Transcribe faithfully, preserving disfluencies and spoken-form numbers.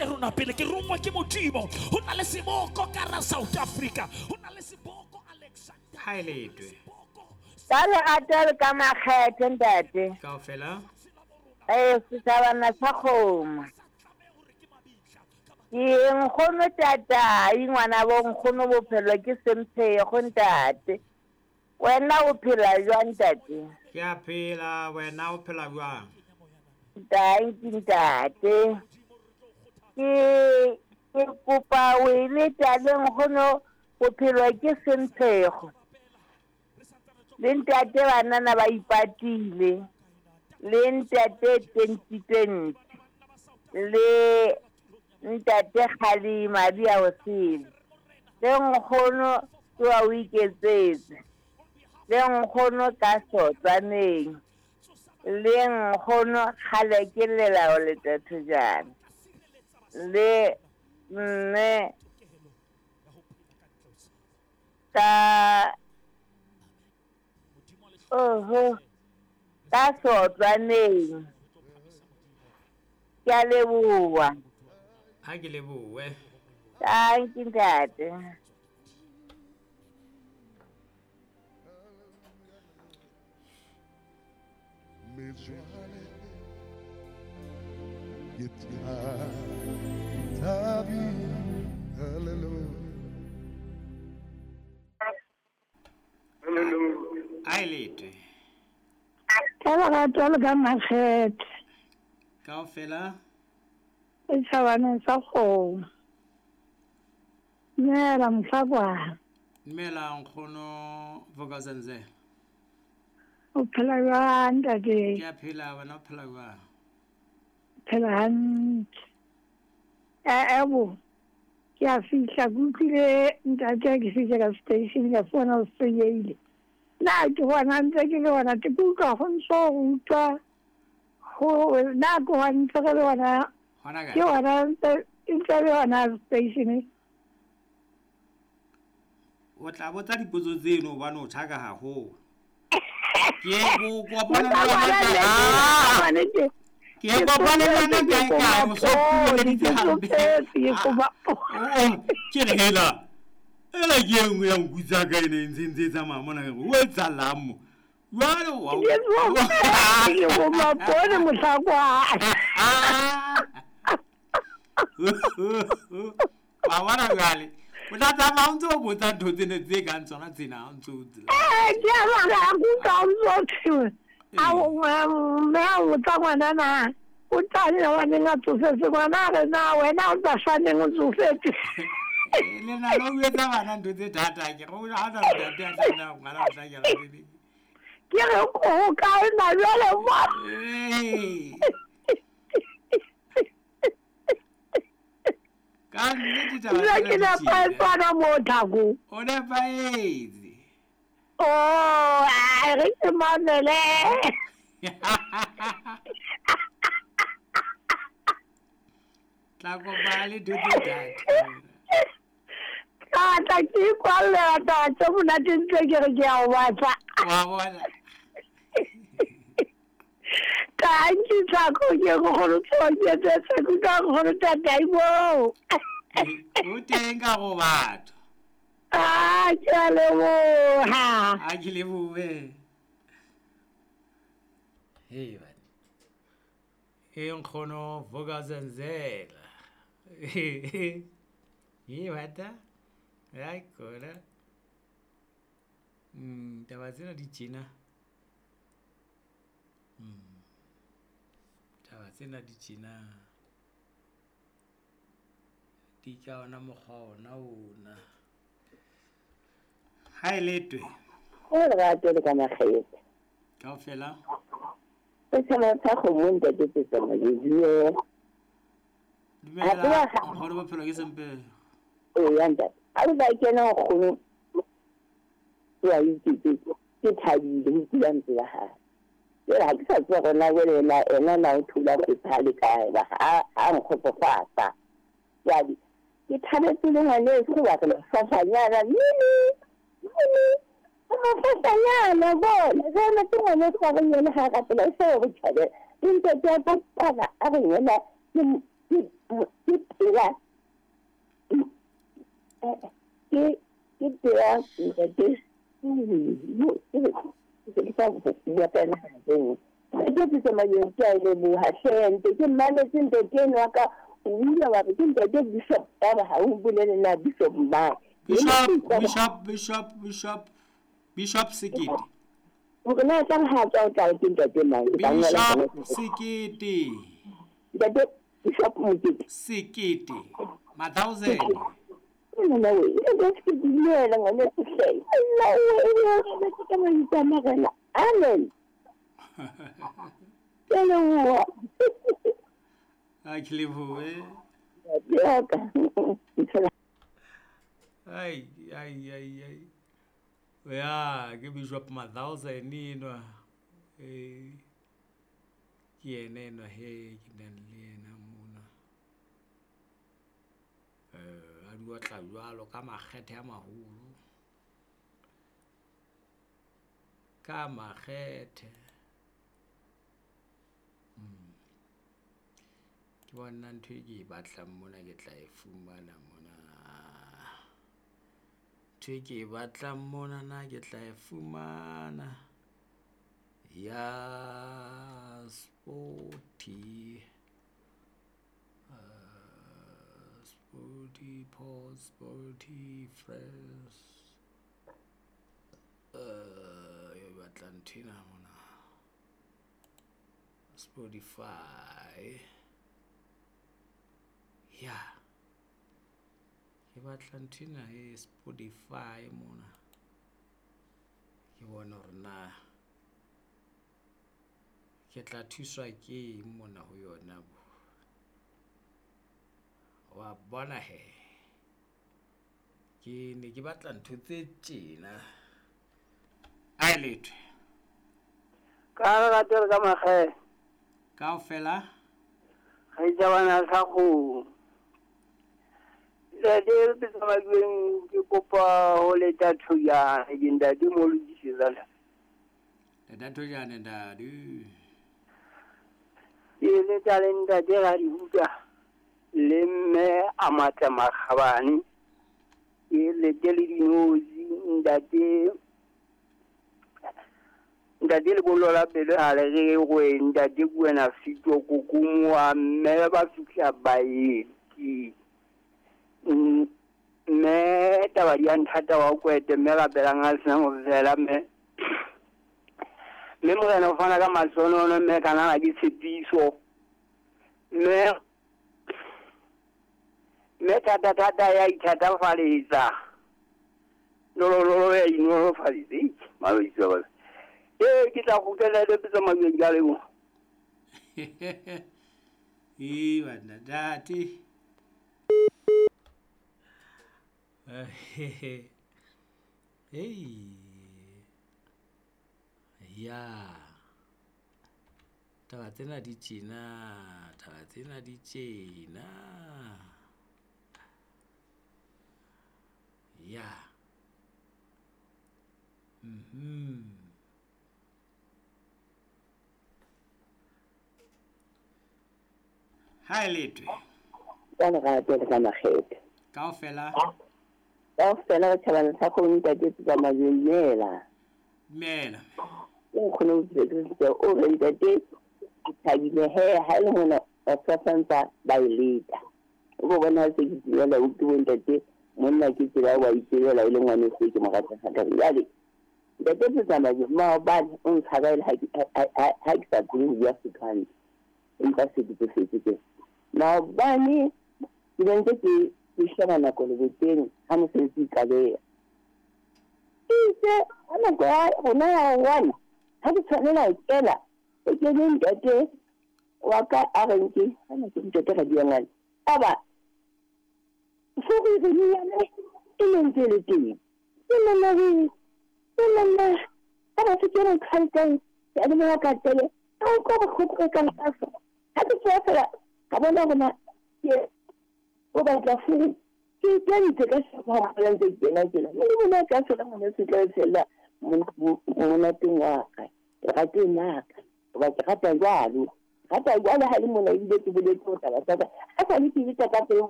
Rona pele ke rongwa ke Modimo. Ho na le seboko ka ra South Africa, ho na le seboko Alexander. Ha e letwe. Ka lerato le ka makgethe ntate. Kaofela. Eh, setjhabana sa kgomo. Ke nkgono tatai ngwana bo nkgono bophelo ke semphego ntate. Wena o phela jwang ntate? Ke a phela, wena o phela jwang? Thank you ntate. Ke ke kopa o e le nkgono bophelo ke semphego. Le ntate banana ba ipatile. Le ntate twenty twenty. Le ntate Kgale madi a osele. Le nkgono ke wa o iketsetse. Le nkgono ka sotsaneng. Le nkgono kgale ke lelao le tathojana. Le mme ka oho ka sotsaneng. Ke a leboha. Ha ke lebohe. Thank you ntate. Ha e letwe. Ka lerato le ka makgethe. Kaofela. Setjhabaneng sa kgomo. Dumela mohlakwana. Dumela nkgono Vuk'uzenzele. O phela jwang ntate? Ke a phela, wena o phela jwang? Phela hantle. Eh bo. Ke a fihla ke utlwile ntate ke fihla ka station ka fona o senyehile. Nna ke bona ntse ke le hona ke utlwa go ntso utlwa go nna ke hona ntse ke le hona Hona kae? Ke hona ntse ntse le hona station. O tla botsa dipotso tseno hobane o tjhaka haholo. Ke go kopana le wena ka. Ke kopane le wena kae kae o so puleditse hampe. Ke re hela. Ela ke e nngwe ya nku tsa ka ene e ntse ntse e tsamaya mona ke re o etsahalang mo? Jwale wa Ke bo mapone mohlakwana. Wa bona jwale. O tla tsamaya o ntse o botsa ntho tsena tse kang tsona tsena o ntse o Eh, ke a bona ha ke utlwa o ntso thwe. A mme a botsa ngwana na o tla nna wa neng a tsofetse ngwana a re na wena o tla swaneng o tsofetse. Le na le o etsa bana ntho tse thata ke re o ha na ntate a tla nna ngwana o tla kena pele. Ke re o kae na jwale mo? Eh. Ka nnete taba Nna tsena ke di nepahetse tjena. hona moo Thako. O nepahetse. Oh, ai re ke mamele. Tla kopana le ntho tse thata. Ka tla ke ikwallela taba tse monate ntse ke re ke a o batla. Wa bona. Thank you Thako, ke go go tshoketse ke ka go tatai moo. O teng ka go batho. Ah, ke a leboha. Ha ke lebohe. Hey bana. E nkgono Vuk'uzenzele. Ye bata. Ai kona. Mm, taba tsena di tjena. Mm. Taba tsena di tjena. Di ka ona mokgwa ona ona. Ha e letwe. Ho lerato le ka makgethe. Kaofela. Setjhaba sa kgomo ntate Tsetsana ke dumela. Dumela nkgono bophelo ke sempe. Eya ntate. Ha re ba kena nkgono wa iketsetse ke thabile ho kula ntse ya hae. Jwale ha ke sa tseba hore na jwale ena ena na o thula go le kae ba ha ha nkgotsofatsa. Jwale ke thabetse le ngwaneso ho batla mafafanyana nini nini mafafanyana bona jwale ke ngwaneso wa re yena ha rapela e se ho tjhabe. Ntate wa kopana a re yena ke Ke ke pela ke ke pela ntate ke sa bua ka ena teng. Ke tse tsamayeng ke a leboha hle nte ke mametse ntate enwa ka o ile wa re ke ntate Bishop ba ha o bolele na Bishop mang. Bishop Bishop Bishop Bishop Bishop Sekete. Hore na tla ha tswa o tla ke ntate mang ke tla ngola Bishop Sekete. Ntate Bishop Mokete. Sekete. Ma thousand. Nna we, e ke dumela ngwane hle. Nna we, ke ka mo itsamagela. Amen. Ke leboha. A ke lebohe. Ya ka. Ai ai ai ai. Ya, ke Bishop ma thousand enwa. Eh. Ke yena enwa he ke nang le yena mona. Eh, a di otla jwalo ka makgethe a maholo. Ka makgethe. Mm. Ke bona ntho e ke e batlang mona ke tla e fumana mona. Ntho e ke e batlang mona na ke tla e fumana. Ya Sporty. Uh, Sporty Paul, Sporty Fresh. Uh, e batla ntho ena mona. Spotify. Ya. Ke batla ntho ena e Spotify mona. Ke bona hore na ke tla thuswa ke eng mona ho yona bo. Wa bona he. Ke ne ke batla ntho tse tjena. Ai letho. Ka lerato le ka makgethe. Kaofela. Ga itjabana sa go. Ntate Tsamajweng ke kopa ho leta Thojane ke ntate mo lokisetsa la. Leta Thojane ntate. Ke leta le ntate Radibuka le mme a matla makgabane. Ke lete le dinotsi ntate ntate lebollo la pelo ha le re go ntate Kwena Fito kokomoa mme ba fihla baeti. Mme taba di a nthata wa kwete mme rapelang a sena ho fela mme mme morena o fana ka masonono mme kanana ke tshepiso mme mme thata thata ya ithatafaletsa nolololo ya inolofaditse maloitse ba ee ke tla kgutlela le tsa majweng ka leboha. Ee banna ntate. Hey. Ya. Taba tsena di tjena, taba tsena di tjena. Ya. Mhm. Hi letwe. Ka lerato le ka makgethe. Kaofela. Kaofela re thabana sa go ntate Tsamajweng dumela. Dumela. Ke nkgono o tsetse o re ntate ke thabile he ha le mona ba santsa ba e leta. O bo bona se ke dumela o ke ntate monna ke tsela wa itsela e le ngwane se ke mo rata ga jwale. Ntate Tsamajweng maobane o ntshaba ha ke ha ke sa khone ho bua Setswana. Empa se ke se ke. Maobane ke ntse ke ke sheba nako le boteng ha mosebetsi e qaleha. Itse ha nako ya rona ya one ha ke tshwanela ho kena e kene ntate wa ka a reng ke ha na ke ntate Radiangwane aba furu e ne ntse le teng. Ke nna re ke nna ha ba se ke re khaltang ya le mo ka tele a o ko go ka ka fa ha ke tswa fela ka bona rona ke o batla furu ke kentse ka sefa ba ntse kena kena mme bona ka sona ngwana se tla fela monateng wa ka rateng la ka ba ke rata jwalo Hata jwale ha le mona ebile ke boletse ho taba tsa ka. Ha sa le ke le ka peo